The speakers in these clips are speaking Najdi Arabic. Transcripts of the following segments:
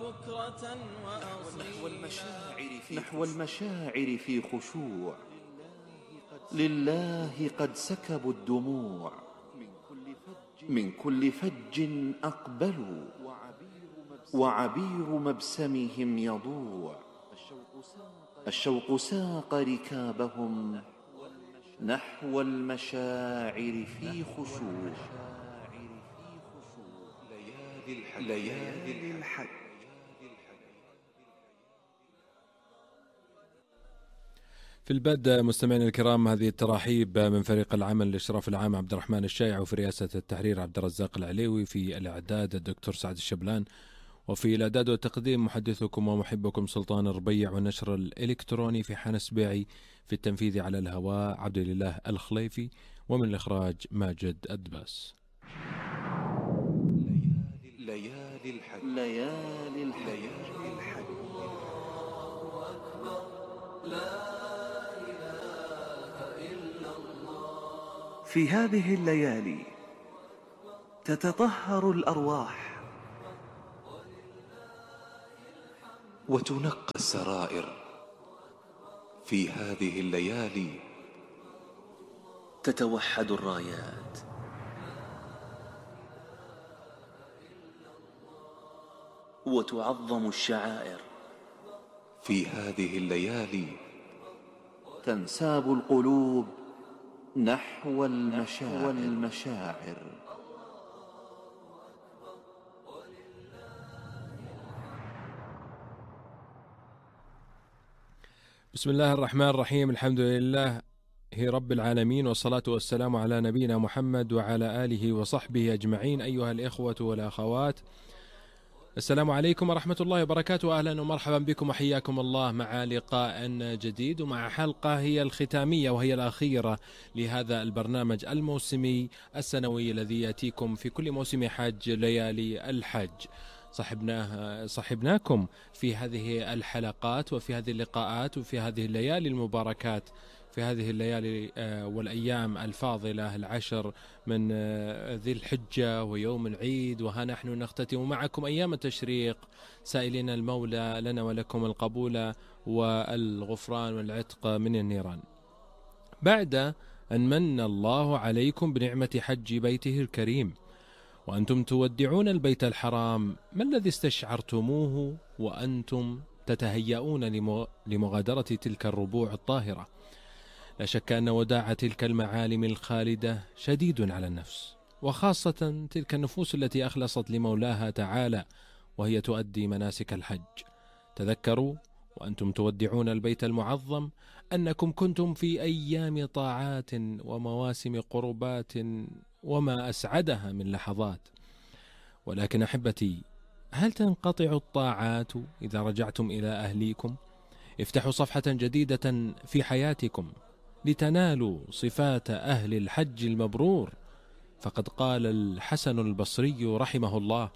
بكرة وأصيلا نحو المشاعر في خشوع، لله قد سكبوا الدموع، من كل فج أقبلوا، وعبير مبسمهم يضوع. الشوق ساق ركابهم نحو المشاعر في خشوع. ليالي الحج. في البدء مستمعينا الكرام هذه التراحيب من فريق العمل الإشراف العام عبد الرحمن الشايع، وفي رئاسة التحرير عبد الرزاق العليوي، في الإعداد الدكتور سعد الشبلان، وفي الإعداد والتقديم محدثكم ومحبكم سلطان الربيع، والنشر الإلكتروني في حنس بيعي، في التنفيذ على الهواء عبد الله الخليفي، ومن الإخراج ماجد الدباس. ليالي الحج. ليالي الحج. في هذه الليالي تتطهر الأرواح وتنقى السرائر. في هذه الليالي تتوحد الرايات وتعظم الشعائر. في هذه الليالي تنساب القلوب نحو المشاعر. بسم الله الرحمن الرحيم. الحمد لله رب العالمين، والصلاة والسلام على نبينا محمد وعلى آله وصحبه أجمعين. أيها الإخوة والأخوات، السلام عليكم ورحمة الله وبركاته. أهلا ومرحبا بكم وحياكم الله مع لقاء جديد ومع حلقة هي الختامية وهي الأخيرة لهذا البرنامج الموسمي السنوي الذي يأتيكم في كل موسم حج ليالي الحج. صحبناكم في هذه الحلقات وفي هذه اللقاءات وفي هذه الليالي المباركات، في هذه الليالي والأيام الفاضلة العشر من ذي الحجة ويوم العيد، وها نحن نختتم معكم أيام التشريق سائلين المولى لنا ولكم القبول والغفران والعتق من النيران. بعد أن من الله عليكم بنعمة حج بيته الكريم وأنتم تودعون البيت الحرام، ما الذي استشعرتموه وأنتم تتهيئون لمغادرة تلك الربوع الطاهرة؟ لا شك أن وداع تلك المعالم الخالدة شديد على النفس، وخاصة تلك النفوس التي أخلصت لمولاها تعالى وهي تؤدي مناسك الحج. تذكروا وأنتم تودعون البيت المعظم أنكم كنتم في أيام طاعات ومواسم قربات وما أسعدها من لحظات. ولكن أحبتي، هل تنقطع الطاعات إذا رجعتم إلى أهليكم؟ افتحوا صفحة جديدة في حياتكم لتنالوا صفات أهل الحج المبرور. فقد قال الحسن البصري رحمه الله: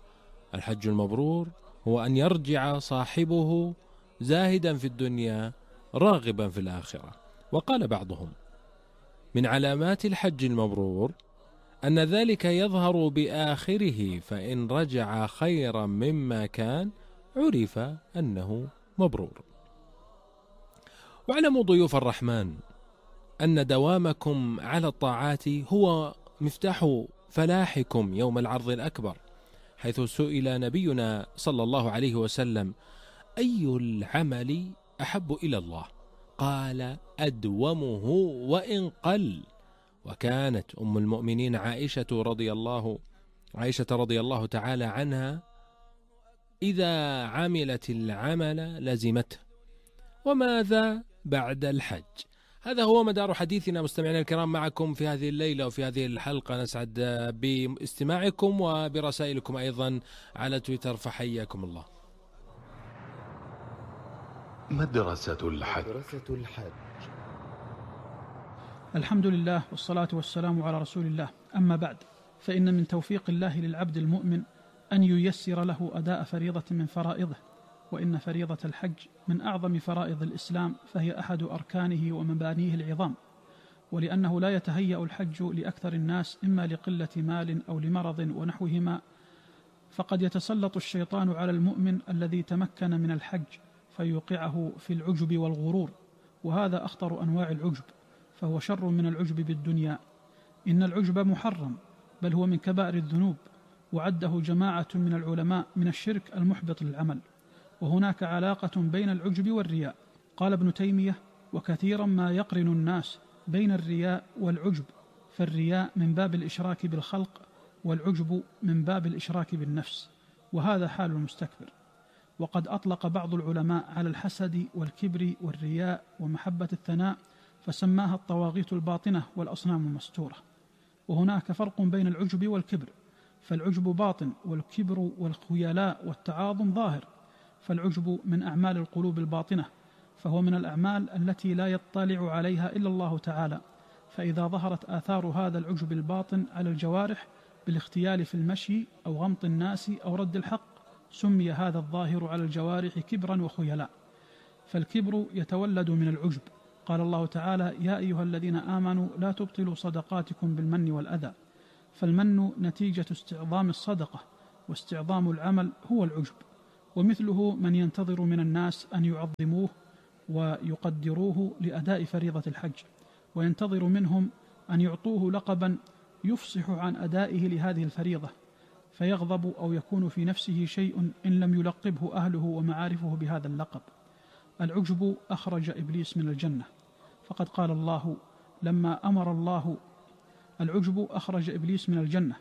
الحج المبرور هو أن يرجع صاحبه زاهدا في الدنيا راغبا في الآخرة. وقال بعضهم: من علامات الحج المبرور أن ذلك يظهر بآخره، فإن رجع خيرا مما كان عرف أنه مبرور. واعلموا ضيوف الرحمن أن دوامكم على الطاعات هو مفتاح فلاحكم يوم العرض الأكبر، حيث سئل نبينا صلى الله عليه وسلم: أي العمل أحب إلى الله؟ قال: أدومه وإن قل. وكانت أم المؤمنين عائشة رضي الله تعالى عنها إذا عملت العمل لزمته. وماذا بعد الحج؟ هذا هو مدار حديثنا مستمعينا الكرام معكم في هذه الليلة وفي هذه الحلقة. نسعد باستماعكم وبرسائلكم أيضا على تويتر، فحياكم الله. مدرسة الحج. الحمد لله والصلاة والسلام على رسول الله. أما بعد، فإن من توفيق الله للعبد المؤمن أن ييسر له أداء فريضة من فرائضه، وإن فريضة الحج من أعظم فرائض الإسلام، فهي أحد أركانه ومبانيه العظام. ولأنه لا يتهيأ الحج لأكثر الناس إما لقلة مال أو لمرض ونحوهما، فقد يتسلط الشيطان على المؤمن الذي تمكن من الحج فيوقعه في العجب والغرور، وهذا أخطر أنواع العجب، فهو شر من العجب بالدنيا. إن العجب محرم، بل هو من كبائر الذنوب، وعده جماعة من العلماء من الشرك المحبط للعمل. وهناك علاقة بين العجب والرياء. قال ابن تيمية: وكثيرا ما يقرن الناس بين الرياء والعجب، فالرياء من باب الإشراك بالخلق، والعجب من باب الإشراك بالنفس، وهذا حال المستكبر. وقد أطلق بعض العلماء على الحسد والكبر والرياء ومحبة الثناء فسماها الطواغيت الباطنة والأصنام المستورة. وهناك فرق بين العجب والكبر، فالعجب باطن والكبر والخيلاء والتعاظم ظاهر. فالعجب من أعمال القلوب الباطنة، فهو من الأعمال التي لا يطلع عليها إلا الله تعالى، فإذا ظهرت آثار هذا العجب الباطن على الجوارح بالاختيال في المشي أو غمط الناس أو رد الحق، سمي هذا الظاهر على الجوارح كبرا وخيلاء. فالكبر يتولد من العجب. قال الله تعالى: يا أيها الذين آمنوا لا تبطلوا صدقاتكم بالمن والأذى. فالمن نتيجة استعظام الصدقة، واستعظام العمل هو العجب. ومثله من ينتظر من الناس أن يعظموه ويقدروه لأداء فريضة الحج، وينتظر منهم أن يعطوه لقبا يفصح عن أدائه لهذه الفريضة، فيغضب أو يكون في نفسه شيء إن لم يلقبه أهله ومعارفه بهذا اللقب. العجب أخرج إبليس من الجنة، فقد قال الله العجب أخرج إبليس من الجنة،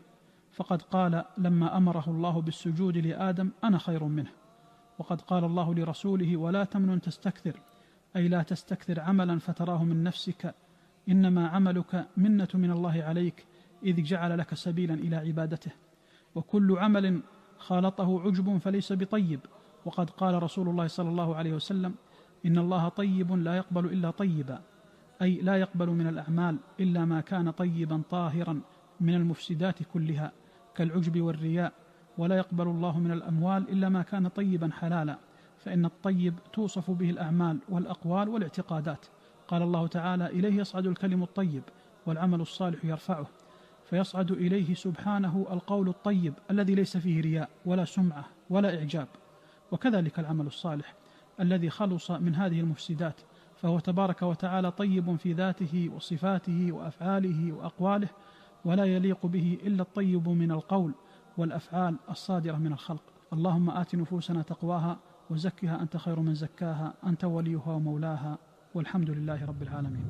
فقد قال لما أمره الله بالسجود لآدم: أنا خير منه. وقد قال الله لرسوله: ولا تمنن تستكثر، أي لا تستكثر عملا فتراه من نفسك، إنما عملك منة من الله عليك إذ جعل لك سبيلا إلى عبادته. وكل عمل خالطه عجب فليس بطيب. وقد قال رسول الله صلى الله عليه وسلم: إن الله طيب لا يقبل إلا طيبا، أي لا يقبل من الأعمال إلا ما كان طيبا طاهرا من المفسدات كلها كالعجب والرياء. ولا يقبل الله من الأموال إلا ما كان طيبا حلالا، فإن الطيب توصف به الأعمال والأقوال والاعتقادات. قال الله تعالى: إليه يصعد الكلم الطيب والعمل الصالح يرفعه. فيصعد إليه سبحانه القول الطيب الذي ليس فيه رياء ولا سمعة ولا إعجاب، وكذلك العمل الصالح الذي خلص من هذه المفسدات، فهو تبارك وتعالى طيب في ذاته وصفاته وأفعاله وأقواله، ولا يليق به إلا الطيب من القول والأفعال الصادرة من الخلق. اللهم آت نفوسنا تقواها وزكها أنت خير من زكاها، أنت وليها ومولاها، والحمد لله رب العالمين.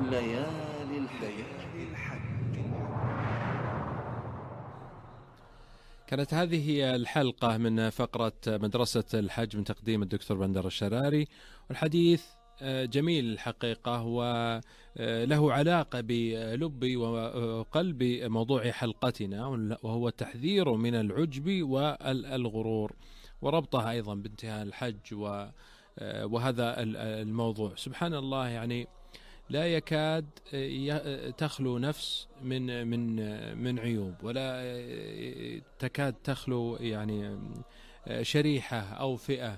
ليالي الحج. كانت هذه الحلقة من فقرة مدرسة الحج من تقديم الدكتور بندر الشراري، والحديث جميل الحقيقة وله علاقة بلب وقلب موضوع حلقتنا، وهو التحذير من العجب والغرور، وربطها أيضا بانتهاء الحج وهذا الموضوع. سبحان الله، يعني لا يكاد تخلو نفس من عيوب، ولا تكاد تخلو يعني شريحة أو فئة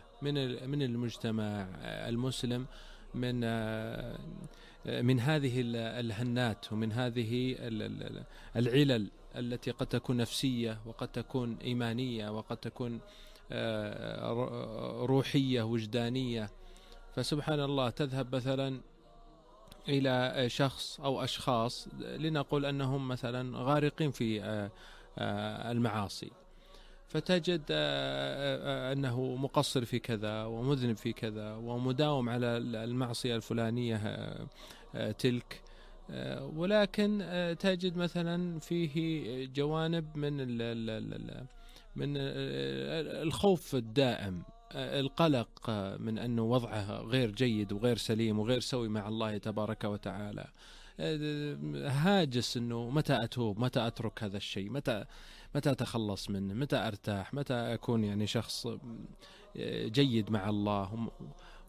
من المجتمع المسلم من هذه الهنات ومن هذه العلل التي قد تكون نفسية وقد تكون إيمانية وقد تكون روحية وجدانية. فسبحان الله، تذهب مثلا إلى شخص أو أشخاص لنقول أنهم مثلا غارقين في المعاصي، فتجد أنه مقصر في كذا ومذنب في كذا ومداوم على المعصية الفلانية تلك، ولكن تجد مثلا فيه جوانب من الخوف الدائم، القلق من أنه وضعه غير جيد وغير سليم وغير سوي مع الله تبارك وتعالى، هاجس أنه متى أتوب، متى أترك هذا الشيء، متى أتخلص منه، متى أرتاح، متى أكون يعني شخص جيد مع الله.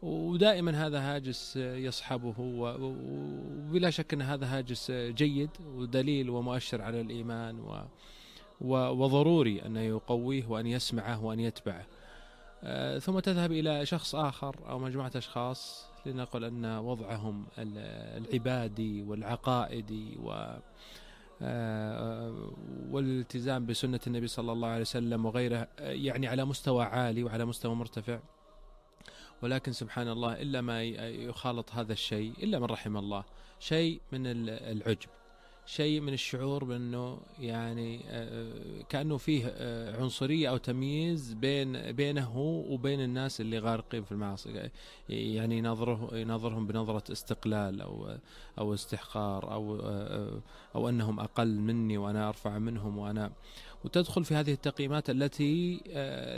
ودائما هذا هاجس يصحبه، وبلا شك أن هذا هاجس جيد ودليل ومؤشر على الإيمان، وضروري أن يقويه وأن يسمعه وأن يتبعه. ثم تذهب إلى شخص آخر أو مجموعة أشخاص لنقل أن وضعهم العبادي والعقائدي والالتزام بسنة النبي صلى الله عليه وسلم وغيره، يعني على مستوى عالي وعلى مستوى مرتفع. ولكن سبحان الله إلا ما يخالط هذا الشيء إلا من رحم الله شيء من العجب، شيء من الشعور بأنه يعني كأنه فيه عنصرية أو تمييز بينه وبين الناس اللي غارقين في المعاصي، يعني ينظرهم بنظرة استقلال أو استحقار أو أنهم أقل مني وأنا أرفع منهم، وتدخل في هذه التقييمات التي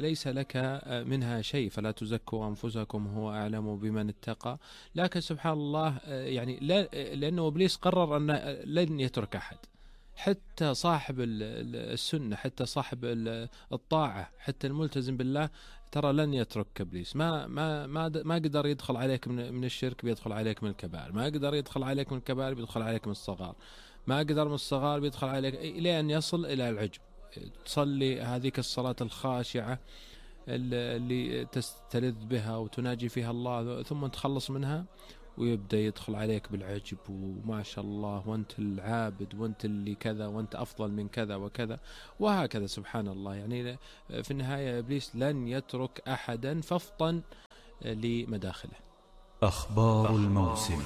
ليس لك منها شيء. فلا تزكوا أنفسكم هو أعلم بمن اتقى. لكن سبحان الله يعني لأنه إبليس قرر أن لن يترك أحد، حتى صاحب السنة، حتى صاحب الطاعة، حتى الملتزم بالله، ترى لن يترك إبليس. ما قدر يدخل عليك من الشرك، بيدخل عليك من الكبائر. ما قدر يدخل عليك من الكبائر، بيدخل عليك من الصغار. ما قدر من الصغار، بيدخل عليك إلى أن يصل إلى العجب. تصلي هذيك الصلاة الخاشعة اللي تستلذ بها وتناجي فيها الله، ثم تخلص منها ويبدأ يدخل عليك بالعجب، وما شاء الله وانت العابد وانت اللي كذا وانت أفضل من كذا وكذا، وهكذا. سبحان الله، يعني في النهاية إبليس لن يترك أحدا، فافطن لمداخله. أخبار الموسم.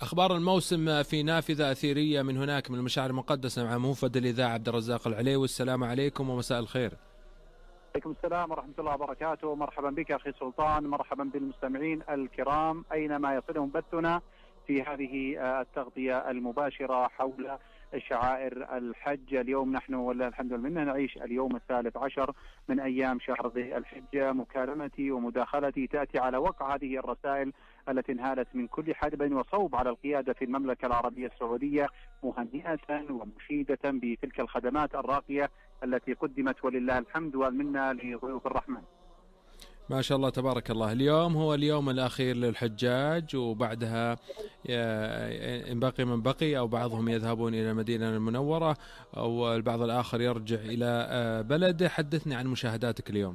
أخبار الموسم في نافذة أثيرية من هناك من المشاعر المقدسة مع موفد الإذاعة عبد الرزاق العليوي. السلام عليكم ومساء الخير. عليكم السلام ورحمة الله وبركاته. مرحبا بك أخي سلطان، مرحبا بالمستمعين الكرام أينما يصلهم بثنا في هذه التغطية المباشرة حول شعائر الحج. اليوم نحن والله الحمد لله نعيش اليوم 13 من أيام شهر ذي الحجة. مكالمتي ومداخلتي تأتي على وقع هذه الرسائل التي انهالت من كل حدب وصوب على القيادة في المملكة العربية السعودية، مهنئة ومشيدة بتلك الخدمات الراقية التي قدمت ولله الحمد والمنة لضيوف الرحمن. ما شاء الله تبارك الله. اليوم هو اليوم الأخير للحجاج، وبعدها إن بقي من بقي، أو بعضهم يذهبون إلى المدينة المنورة، أو البعض الآخر يرجع إلى بلده. حدثني عن مشاهداتك اليوم.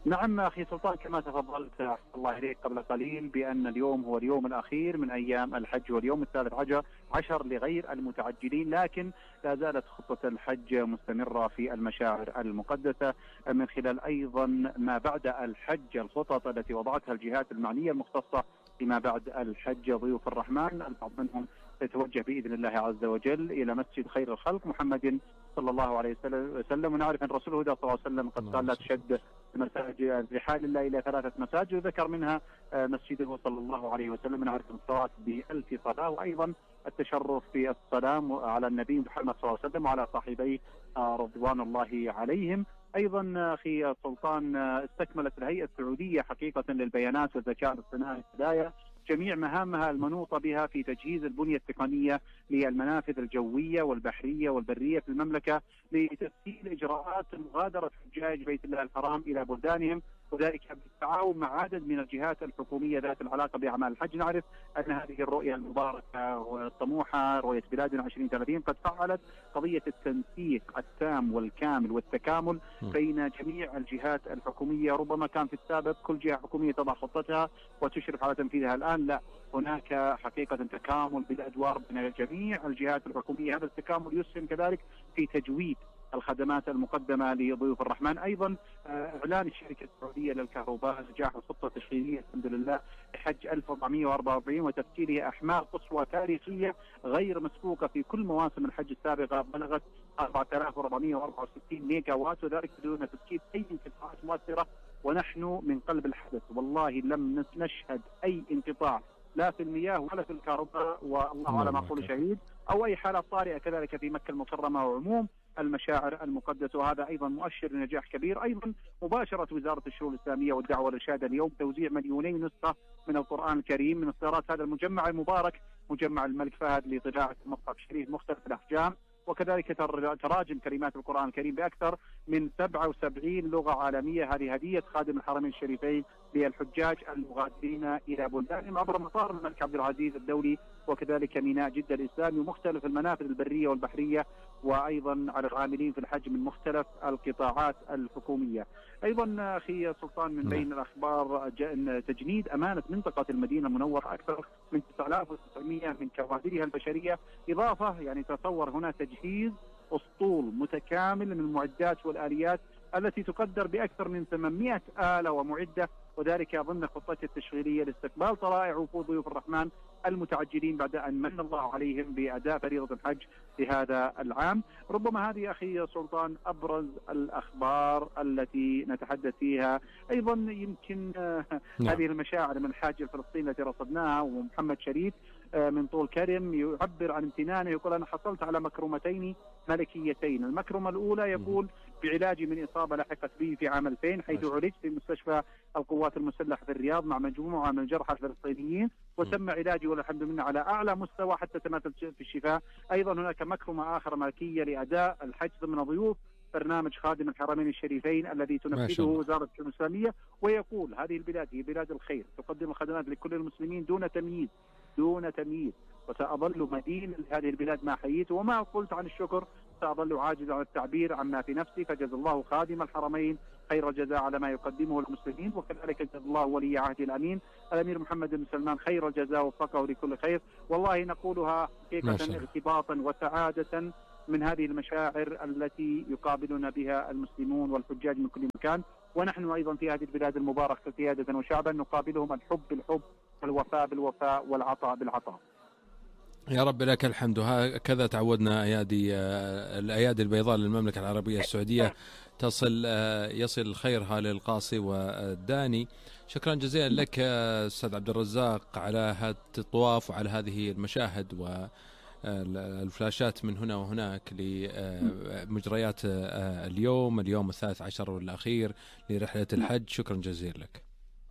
نعم أخي سلطان، كما تفضلت الله إليك قبل قليل بأن اليوم هو اليوم الأخير من أيام الحج، واليوم 13 لغير المتعجلين، لكن لا زالت خطة الحج مستمرة في المشاعر المقدسة من خلال أيضا ما بعد الحج، الخطط التي وضعتها الجهات المعنية المختصة لما بعد الحج. ضيوف الرحمن البعض منهم يتوجه بإذن الله عز وجل إلى مسجد خير الخلق محمد صلى الله عليه وسلم، ونعرف أن رسوله صلى الله عليه وسلم قد قال لا تشد مساجد رحال الله إلى 3 مساجد، وذكر منها مسجده صلى الله عليه وسلم. نعرف الصلاة ب1000 صلاة، وأيضا التشرف في السلام على النبي محمد صلى الله عليه وسلم وعلى صاحبيه رضوان الله عليهم. أيضا أخي سلطان استكملت الهيئة السعودية حقيقة للبيانات والذكاء الاصطناعي الهدايا جميع مهامها المنوطة بها في تجهيز البنية التقنية للمنافذ الجوية والبحرية والبرية في المملكة لتسهيل إجراءات مغادرة حجاج بيت الله الحرام إلى بلدانهم، وذلك بالتعاون مع عدد من الجهات الحكومية ذات العلاقة بأعمال الحج. نعرف أن هذه الرؤية المباركة والطموحة رؤية بلادنا 2030 قد فعلت قضية التنسيق التام والكامل والتكامل بين جميع الجهات الحكومية. ربما كان في السابق كل جهة حكومية تضع خطتها وتشرف على تنفيذها، الآن لا، هناك حقيقة تكامل بالأدوار بين جميع الجهات الحكومية. هذا التكامل يسهم كذلك في تجويد الخدمات المقدمة لضيوف الرحمن. أيضا إعلان الشركة السعودية للكهرباء نجاح الخطة التشغيلية الحمد لله لحج 1444 وتفكيرها أحمال قصوى تاريخية غير مسبوقة في كل مواسم الحج السابقة، بلغت 4464 ميجا وات، وذلك بدون تسكيت أي انقطاعات مؤثرة. ونحن من قلب الحدث والله لم نشهد أي انقطاع لا في المياه ولا في الكهرباء، والله على ما أقول شهيد، أو أي حالة طارئة كذلك في مكة المكرمة وعموم المشاعر المقدسة، وهذا أيضا مؤشر لنجاح كبير. أيضا مباشرة وزارة الشؤون الإسلامية والدعوة والإرشاد اليوم توزيع 2,000,000 نسخة من القرآن الكريم من إصدارات هذا المجمع المبارك، مجمع الملك فهد لطباعة المصحف الشريف مختلف الأحجام، وكذلك تراجم كلمات القرآن الكريم بأكثر من 77 لغة عالمية. هذه هدية خادم الحرمين الشريفين للحجاج المغادرين إلى بلدانهم عبر مطار الملك عبد العزيز الدولي، وكذلك ميناء جدة الإسلامي ومختلف المنافذ البرية والبحرية، وأيضا على العاملين في الحج من مختلف القطاعات الحكومية. أيضا أخي سلطان من بين الأخبار تجنيد أمانة منطقة المدينة المنورة أكثر من 9900 من كوادرها البشرية، إضافة يعني تصور هنا تجهيز أسطول متكامل من المعدات والآليات التي تقدر بأكثر من 800 آلة ومعدة، وذلك ضمن خطته التشغيلية لاستقبال طلائع وفود ضيوف الرحمن المتعجلين بعد أن من الله عليهم بأداء فريضة الحج لهذا العام. ربما هذه أخي سلطان أبرز الأخبار التي نتحدث فيها. أيضا يمكن هذه المشاعر من الحاج الفلسطيني التي رصدناها، ومحمد شريف من طول كرم يعبر عن امتنانه، يقول أنا حصلت على مكرمتين ملكيتين. المكرمة الأولى يقول بعلاجي من إصابة لحقت بي في عام 2000 حيث عالجت في مستشفى القوات المسلحة في الرياض مع مجموعة من الجرحى الفلسطينيين، وتم علاجي والحمد لله على أعلى مستوى حتى تمثل في الشفاء. أيضا هناك مكرمة آخر ملكية لأداء الحج ضمن ضيوف برنامج خادم الحرمين الشريفين الذي تنفذه وزارة الشؤون الإسلامية، ويقول هذه البلاد هي بلاد الخير تقدم الخدمات لكل المسلمين دون تمييز وسأظل مدين لهذه البلاد ما حييت، وما قلت عن الشكر سأظل عاجز عن التعبير عما في نفسي، فجزا الله خادم الحرمين خير الجزاء على ما يقدمه للمسلمين، وكذلك جزا الله ولي عهد الأمين الأمير محمد بن سلمان خير الجزاء ووفقه لكل خير. والله نقولها حقيقة ارتباطا وسعادة من هذه المشاعر التي يقابلنا بها المسلمون والحجاج من كل مكان، ونحن أيضا في هذه البلاد المباركة قيادة وشعبا نقابلهم الحب بالحب والوفاء بالوفاء والعطاء بالعطاء. يا رب لك الحمد. هكذا تعودنا الأيادي البيضاء للمملكة العربية السعودية يصل خيرها للقاصي والداني. شكرا جزيلا لك أستاذ عبد الرزاق على هذا الطواف وعلى هذه المشاهد والفلاشات من هنا وهناك لمجريات اليوم 13 والأخير لرحلة الحج. شكرا جزيلا لك.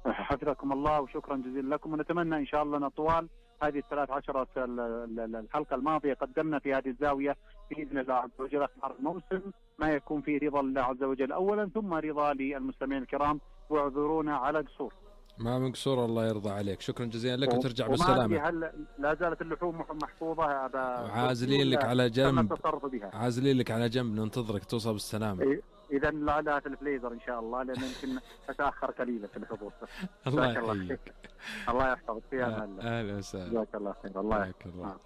حفظكم الله وشكرا جزيلا لكم، ونتمنى إن شاء الله طوال هذه 13 الحلقة الماضية قدمنا في هذه الزاوية بإذن الله عز وجل أخبار الموسم ما يكون فيه رضا الله عز وجل أولا، ثم رضا للمستمعين الكرام، واعذرونا على قصور. ما من قصور، الله يرضى عليك. شكرا جزيلا لك وترجع بالسلامة. هل لا زالت اللحوم محفوظة؟ عازلين لك على جنب، عازلين لك على جنب ننتظرك توصل بالسلامة. إذا لا في الفليزر إن شاء الله، لأن يمكن أتأخر قليلا في الحضور. الله يحفظك. الله يحفظك. في أمان الله. أهلا وسهلا. جزاك الله خير. الله يحفظك.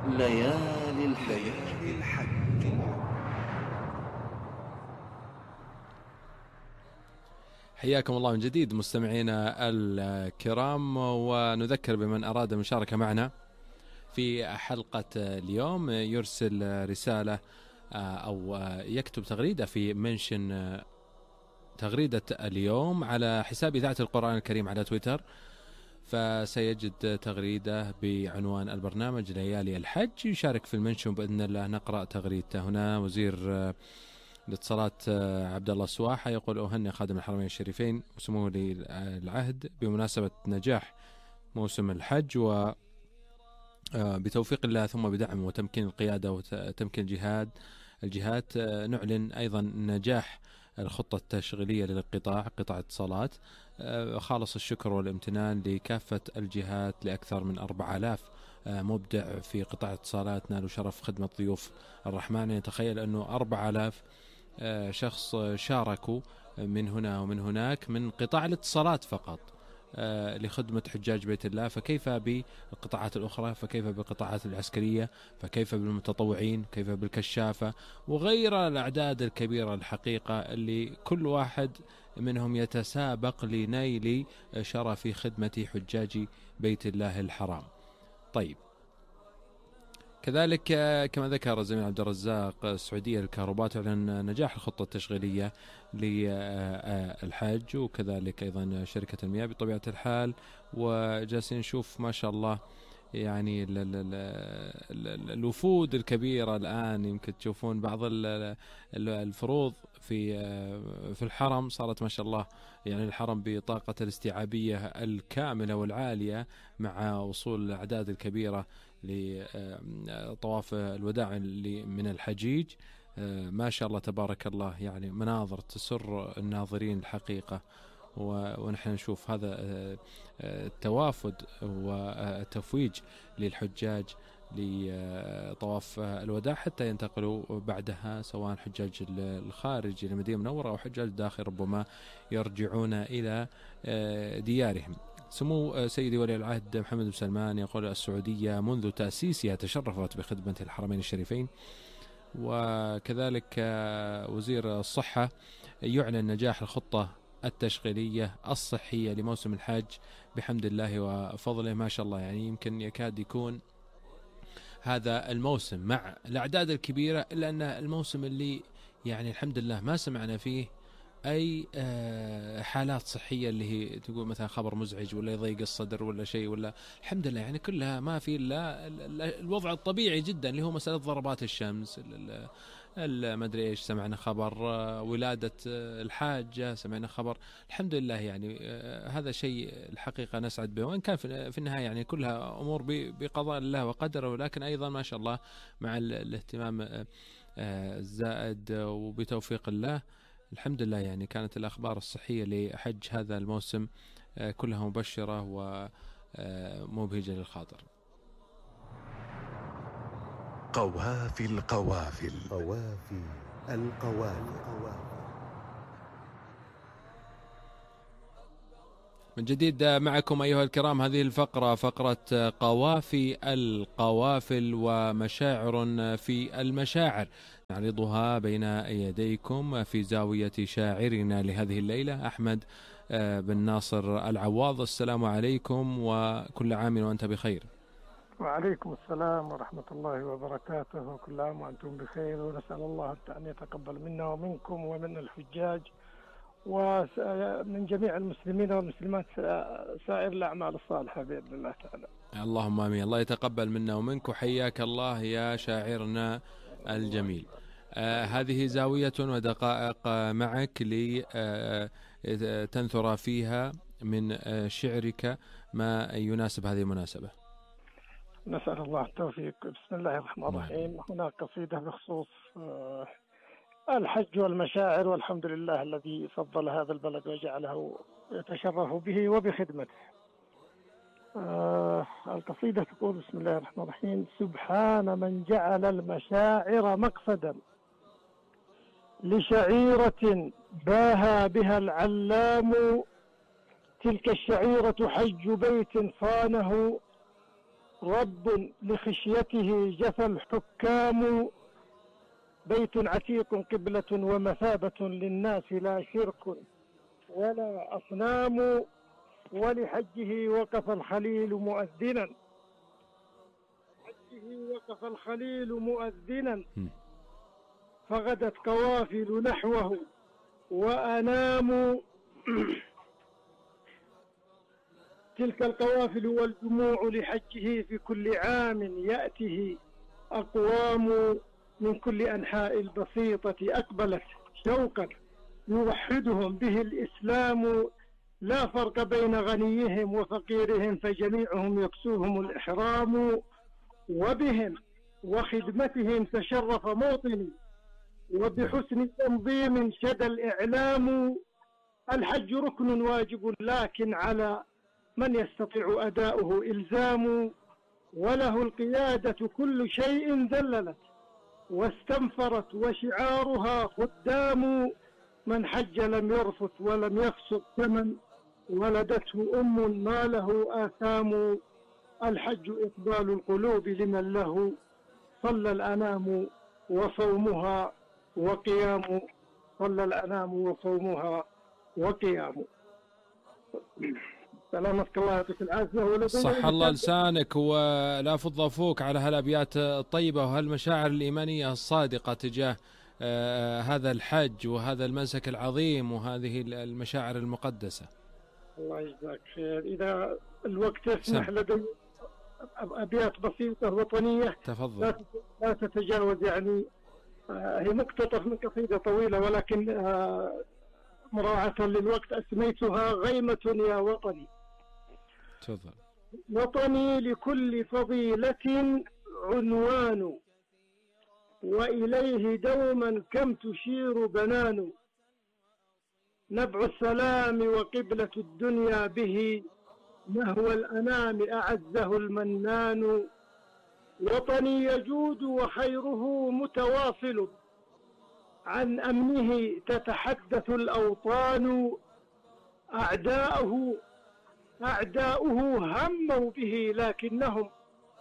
ليالي الحج. حياكم الله من جديد مستمعينا الكرام، ونذكر بمن أراد المشاركة معنا في حلقة اليوم يرسل رسالة أو يكتب تغريدة في منشن تغريدة اليوم على حساب إذاعة القرآن الكريم على تويتر، فسيجد تغريدة بعنوان البرنامج ليالي الحج، يشارك في المنشن بإذن الله نقرأ تغريدته. هنا وزير الاتصالات عبد الله السواحة يقول: أهنئ خادم الحرمين الشريفين وسموه للعهد بمناسبة نجاح موسم الحج، و بتوفيق الله ثم بدعم وتمكين القيادة وتمكين الجهات نعلن أيضا نجاح الخطة التشغيلية للقطاع اتصالات. خالص الشكر والامتنان لكافة الجهات لأكثر من 4000 مبدع في قطاع اتصالات نالوا شرف خدمة ضيوف الرحمن. يتخيل أنه 4000 شخص شاركوا من هنا ومن هناك من قطاع الاتصالات فقط لخدمة حجاج بيت الله، فكيف بالقطاعات الأخرى، فكيف بالقطاعات العسكرية، فكيف بالمتطوعين، كيف بالكشافة وغير الأعداد الكبيرة الحقيقة اللي كل واحد منهم يتسابق لنيل شرف خدمة حجاج بيت الله الحرام. طيب، كذلك كما ذكر الزميل عبد الرزاق، السعودية للكهرباء تعلن نجاح الخطة التشغيلية للحج، وكذلك أيضا شركة المياه بطبيعة الحال. وجالسين نشوف ما شاء الله يعني الوفود الكبيرة الآن، يمكن تشوفون بعض الفروض في الحرم صارت ما شاء الله يعني الحرم بطاقة الاستيعابية الكاملة والعالية مع وصول الأعداد الكبيرة لطواف الوداع من الحجيج. ما شاء الله تبارك الله، يعني مناظر تسر الناظرين الحقيقة. ونحن نشوف هذا التوافد والتفويج للحجاج لطواف الوداع حتى ينتقلوا بعدها، سواء حجاج الخارج إلى المدينة المنورة أو حجاج الداخل ربما يرجعون إلى ديارهم. سمو سيدي ولي العهد محمد بن سلمان يقول: السعودية منذ تأسيسها تشرفت بخدمة الحرمين الشريفين. وكذلك وزير الصحة يعلن نجاح الخطة التشغيلية الصحية لموسم الحج بحمد الله وفضله. ما شاء الله، يعني يمكن يكاد يكون هذا الموسم مع الأعداد الكبيرة إلا أن الموسم اللي يعني الحمد لله ما سمعنا فيه أي حالات صحية اللي هي تقول مثلا خبر مزعج ولا يضيق الصدر ولا شيء، ولا الحمد لله يعني كلها ما في إلا الوضع الطبيعي جدا اللي هو مسألة ضربات الشمس، ما أدري إيش، سمعنا خبر ولادة الحاجة، سمعنا خبر الحمد لله. يعني هذا شيء الحقيقة نسعد به، وإن كان في النهاية يعني كلها أمور بقضاء الله وقدره، ولكن أيضا ما شاء الله مع الاهتمام الزائد وبتوفيق الله الحمد لله يعني كانت الأخبار الصحية لحج هذا الموسم كلها مبشرة ومبهجة للخاطر. قوافي القوافل. قوافي القوافل. من جديد معكم أيها الكرام هذه الفقرة، فقرة قوافي القوافل ومشاعر في المشاعر، نعرضها بين يديكم في زاوية شاعرنا لهذه الليلة أحمد بن ناصر العواض. السلام عليكم وكل عام وأنت بخير. وعليكم السلام ورحمة الله وبركاته، وكل عام وأنتم بخير، ونسأل الله أن يتقبل منا ومنكم ومن الحجاج ومن جميع المسلمين والمسلمات سائر الأعمال الصالحة بإذن الله تعالى. اللهم آمين. الله يتقبل منا ومنك، وحياك الله يا شاعرنا الجميل. هذه زاوية ودقائق معك لتنثر فيها من شعرك ما يناسب هذه المناسبة. نسأل الله التوفيق. بسم الله الرحمن الرحيم. هناك قصيدة بخصوص الحج والمشاعر، والحمد لله الذي فضل هذا البلد وجعله يتشرف به وبخدمته. القصيدة تقول: بسم الله الرحمن الرحيم. سبحان من جعل المشاعر مقصدا لشعيرة باها بها العلام، تلك الشعيرة حج بيت صانه رب لخشيته جثى الحكام، بيت عتيق قبلة ومثابة للناس لا شرك ولا أصنام، ولحجه وقف الخليل مؤذنا، حجه وقف الخليل مؤذنا، فغدت قوافل نحوه وأنام، تلك القوافل والجموع لحجه في كل عام يأته أقوام، من كل أنحاء البسيطة أقبلت شوقا يوحدهم به الإسلام، لا فرق بين غنيهم وفقيرهم فجميعهم يكسوهم الإحرام، وبهم وخدمتهم تشرف موطني وبحسن تنظيم شد الإعلام، الحج ركن واجب لكن على من يستطيع أداؤه إلزام، وله القيادة كل شيء ذللت واستنفرت وشعارها خدام، من حج لم يرفث ولم يفسق كمن ولدته ما له آثام، الحج إقبال القلوب لمن له صلى الأنام وصومها وقيام، صلى الأنام وصومها وقيام. سلامتك الله يعطيك العافية. صح الله لسانك ولا فض فوق على هالأبيات الطيبة وهالمشاعر الإيمانية الصادقة تجاه هذا الحج وهذا المنسك العظيم وهذه المشاعر المقدسة. الله يجزاك خير. إذا الوقت يسمح لدي أبيات بسيطة وطنية. تفضل. لا تتجاوز، يعني هي مقتطف من قصيدة طويلة، ولكن مراعاة للوقت أسميتها غيمة يا وطني. تفضل. وطني لكل فضيلة عنوان، وإليه دوما كم تشير بنان. نبع السلام وقبلة الدنيا به، نهو الأنام أعزه المنان. وطني يجود وخيره متواصل، عن أمنه تتحدث الأوطان. أعداؤه هموا به لكنهم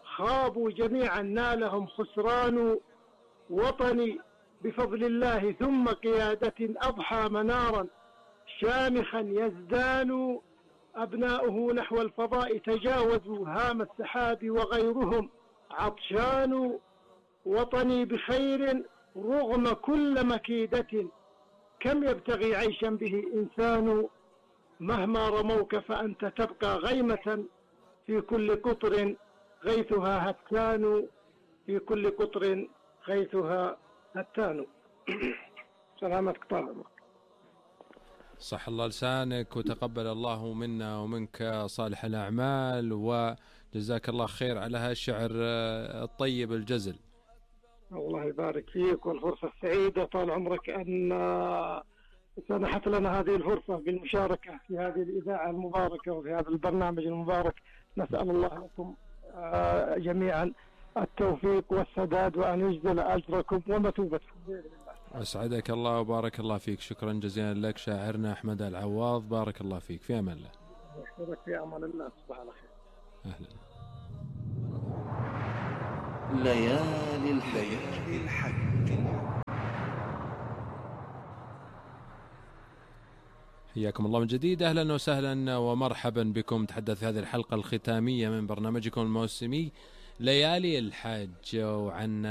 خابوا جميعا، نالهم خسران. وطني بفضل الله ثم قيادة أضحى منارا شامخا يزدان. أبناؤه نحو الفضاء تجاوزوا هام السحاب وغيرهم عطشان. وطني بخير رغم كل مكيدة، كم يبتغي عيشا به إنسان. مهما رموك فأنت تبقى غيمة، في كل قطر غيثها هتان. في كل قطر غيثها هتان. سلامتك طال. صح الله لسانك، وتقبل الله منا ومنك صالح الأعمال، وجزاك الله خير على هالشعر الطيب الجزل. الله يبارك فيك، والفرصة السعيدة طال عمرك أن سنحت لنا هذه الفرصة بالمشاركة في هذه الإذاعة المباركة وفي هذا البرنامج المبارك. نسأل الله لكم جميعا التوفيق والسداد، وأن يجزل أجركم ومثوبتكم بإذن الله. أسعدك الله وبارك الله فيك. شكرا جزيلا لك شاعرنا أحمد العواض، بارك الله فيك. في أمان الله. أشكرك في أمان الله. تصبح على خير. أهلا. ليالي الحج. حياكم الله من جديد، أهلا وسهلا ومرحبا بكم. تحدث هذه الحلقة الختامية من برنامجكم الموسمي ليالي الحج، وعن